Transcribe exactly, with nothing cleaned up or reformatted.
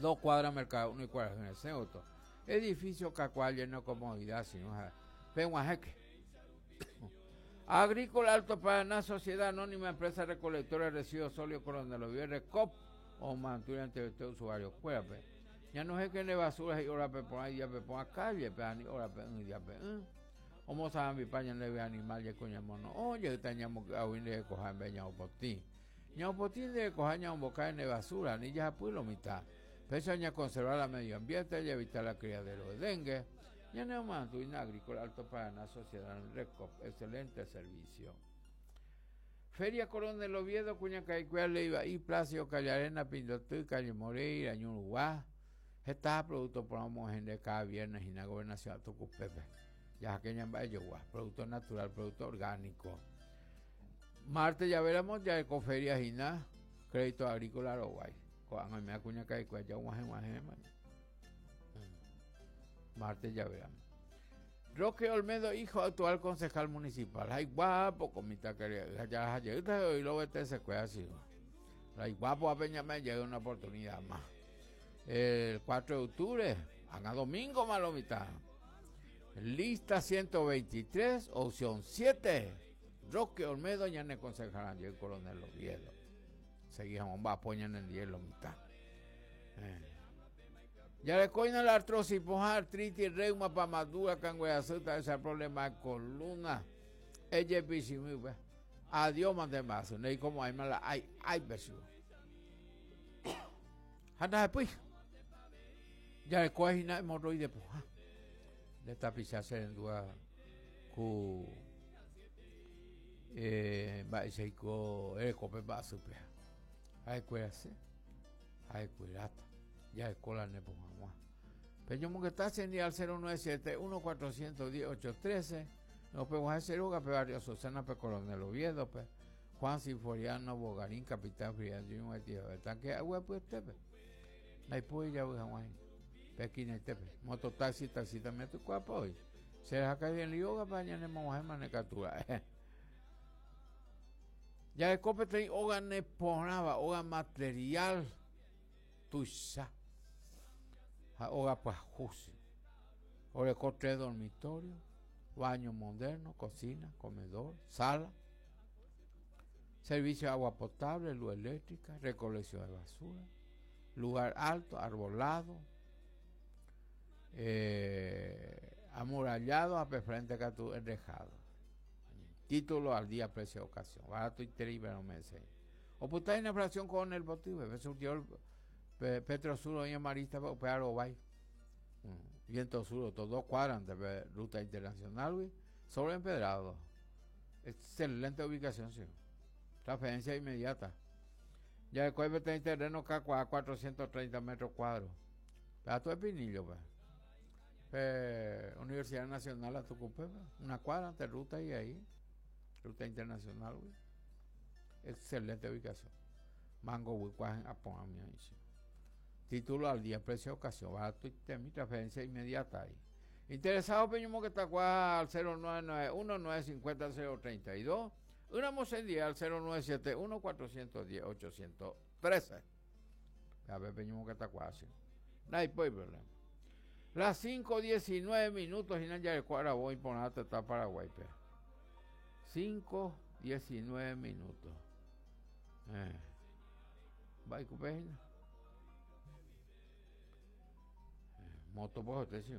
Dos cuadras mercado uno y cuadras en edificio Cacual lleno de comodidad, sino Peguajeque. Agrícola Alto Paraná, Sociedad Anónima, Empresa Recolectora de Residuos Sólidos Coronel Oviedo, Recop, o mantura entre usted usuario. Cuérape. Ya no es que le basura y ahora pe por ahí ya pe por a calle, pe ani ahora pe un día pe un. O mo saben mi paña le ve animal ya coña mono. Oye, teníamos que aún le cojan beña o potín. Ña o potín de cojan ña un boca en basura, ni ya pues lo mitad. Pese a conservar el medio ambiente y evitar la criadero de dengue. Ya no mantuina Agrícola Alto Paraná, Sociedad Recop, excelente servicio. Feria Coronel Oviedo, Cuñacaicuea, Leiva y Placio, Callarena, Pindotú, Calle Moreira, Ñuruguá. Está producto por de cada viernes en la gobernación de Tucupepe. Ya que producto natural, producto orgánico. Martes ya veremos ya ecoferia Gina, crédito agrícola Uruguay. Martes ya veremos. Roque Olmedo, hijo actual concejal municipal. Ay, guapo, comita querida. Ya, ya, hoy lo vete se cuida así. Ay, guapo, a Peña me llega una oportunidad más. El cuatro de octubre, haga domingo, malo mitad. Lista ciento veintitrés, opción siete. Roque Olmedo, ya en el concejal el coronel Oviedo. Seguimos, va a poner en el hielo mitad. Eh. Ya le coina la artrosis, poja, artritis, reuma, pamadura, cangüeazuta, ese problema de columna. Ella es piscina. Adiós, mande más. No hay como hay mala, hay, hay versión. Anda después. Ya le coina hemorroide, poja. Le tapizarse en duda ku eh va seiko el cope va super. Hay cuidarse. Hay cuidar. Ya escuela ne pongamos. Pero yo que está al cero nueve siete uno cuatro uno cero ocho uno tres. Nos podemos hacer Uga, pe Barrio Susana, pe Coronel Oviedo, pe Juan Sinforiano, Bogarín, Capitán Frián, yo me tío, tanque agua pues tepe. La puede ya voy a Juan. Pequina tepe. Mototaxi, taxi también tu cuerpo hoy. Se deja caer en yoga para ñane moja manecatura. Ya el cope te oga ne ponaba, oga material tuisa. Oga pues jusi. Ore tres dormitorios, baño moderno, cocina, comedor, sala, servicio de agua potable, luz eléctrica, recolección de basura, lugar alto, arbolado, eh, amurallado, a frente que tu enrejado. Título al día, precio de ocasión. Barato y terrible, no me sé. O puta en inflación con el botivo, me surgió el Petro Sur, y Marista, Opearo, Bay. Viento Sur, todo cuadran de ruta internacional, sobre empedrado. Excelente ubicación, sí. Transferencia inmediata. Ya el cuerpo tiene terreno a cuatrocientos treinta metros cuadrados. Plato de Pinillo, pues. Eh, Universidad Nacional, la Tucupé, una cuadra de ruta y ahí. Ruta internacional, güey. Excelente ubicación. Mango, Huicuajen, Apoamia. Título al día, precio de ocasión, barato y mi transferencia inmediata ahí. Interesado, Peñumo que está al cero nueve nueve uno nueve cinco cero tres dos. Una mocendía al cero nueve siete uno cuatro uno cero ocho uno tres. A ver, Peñumo que está así. No hay problema. Las cinco diecinueve minutos y ya el cuadro voy por nada está Paraguay. cinco diecinueve minutos. Eh. Va y moto por usted, sí.